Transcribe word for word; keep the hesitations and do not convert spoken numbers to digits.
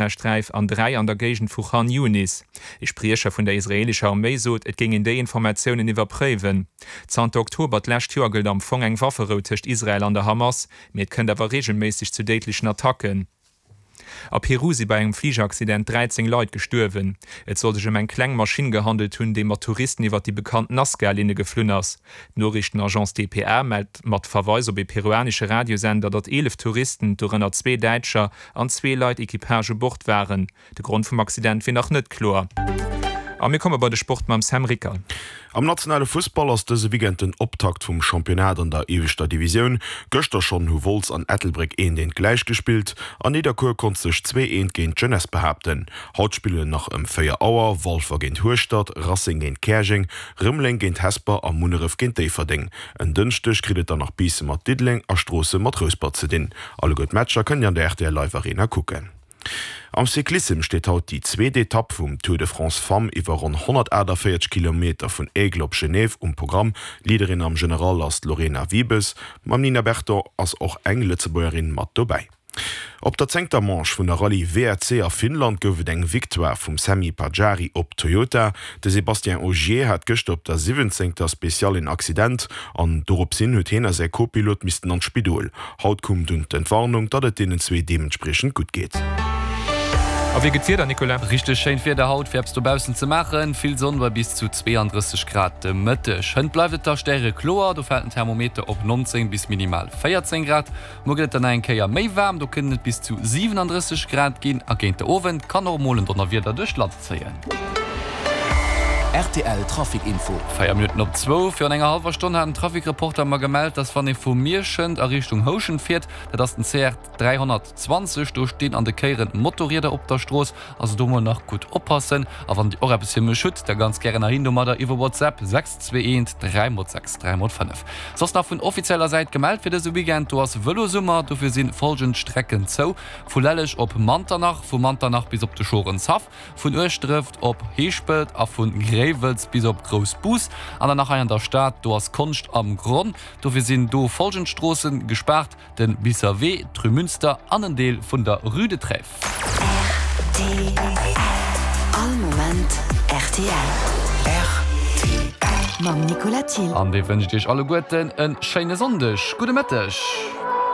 Gazasträif an dräi an der Géigend vu Khan Younis. E Spriecher vun der israeelescher Arméi sot, et géing een déi Informatiounen iwwerpréiwen. Zanter Oktober d'lescht Joer gëllt am Fong eng Wafferou tëscht Israel an der Hamas, mee et kënnt awer reegelméisseg zu déidlechen Attacken. A Peru si bei engem Fligeraccident dräizéng Leit gestuerwen. Et soll sech ëm eng kleng Maschinn gehandelt hunn, déi mat Touristen iwwer déi bekannt Nazca-Linne geflunn ass. D'Noriichtenagence D P A mellt mat Verweis op ee peruanesche Radiosender, datt eelef Touristen, dorënner zwee Däitscher, an zwee Leit Equipage u Bord waren. De Grond vum Accident wier nach net kloer. A mir komme bei de Sport mam Sam Ricker. Am nationale Fussball ass dëse Weekend den Optakt vum Championnat an der ieweschter Divisioun. Gëschter schonn hu Wolz an Ettelbréck eent eent gläich gespillt an Nidderkuer konnt sech zwee eent géint d'Jeunesse behaapten. Haut spillen nach ëm véier Auer Walfer géint Hueschtert, Racing géint Käerjeng, Rëmeleng géint Hesper a Munneref géint Déifferdeng. En Dënschdeg kritt et dann nach Biissen mat Diddeleng a Stroossen mat Rouspert ze dinn. Alleguer d'Matcher kënnt Dir an der R T L Live Arena kucken. Am Cyclissem steet haut déi zweet Etapp vum Tour de France Femmes iwwer ronn honnertaachtavéierzeg Kilometer vun Aigle op Genève um Programm. Leaderin am General ass d'Lorena Wiebes. Mam Nina Berton ass och eng Lëtzebuergerin mat dobäi. Op der zéngter Manche vun der Rallye W R C a Finnland gouf et eng Victoire vum Sami Pajari op Toyota. De Sébastien Ogier hat gëschter op der siwwenzéngter Speciale en Accident an doropshin huet hien a säi Co-Pilot missten an d'Spidol. Haut koum dunn d'Entwarnung, datt et deenen zwee deementspriechend gutt geet. A wéi gëtt d'Wieder, Nicolas? Richteg schéint Wieder haut fir eppes dobaussen ze maachen. Vill Sonn bei bis zu zweeandrësseg Grad de Mëtteg. Hënt bleift et da stärekloer, do fält den Thermometer op nonzéng bis minimal véierzéng Grad. Muer gëtt et dann nach eng Kéier méi waarm, do kënnen et bis zu siwenandrësseg Grad ginn a géint de Owend kann och mol en Donnerwieder duerch d'Land zéien. R T L Trafic Info. Véier Minutten op zwou. Virun enger hallwer Stonn hat en Trafic-Reporter mer gemellt, dass wann ee vu Mierschent a Richtung Houschent fiert, dat ass den C R dräihonnertzwanzeg do stinn an de Kéieren Motorrieder op der Strooss, also do mol nach gutt oppassen. A wann Dir och eppes fir mech hutt, da ganz gären erhin domadder iwwer WhatsApp, sechs zwee eent dräi mol sechs dräi mol fënnef. Soss nach vun offizieller Säit gemellt fir dëse Weekend, do ass Vëlosummer, dofir si folgend Strecken zou, vu Lelleg op Manternach, vu Manternach bis op de Schorenshaff, vun Ueschdref op Heeschpelt a vu Gréiwels bis op Groussbus. An dann nach hei an der Stad, do ass Konscht am Gronn, dofir sinn do folgend Stroosse gespaart, de Biisser Wee, d'Rue Münster an en Deel vun der Rue de Trèves. R T L. All Moment R T L. R T L. Mam Nicolas Thill. An dee wënscht iech alleguerten e schéine Sonndeg. Gudde Mëtteg.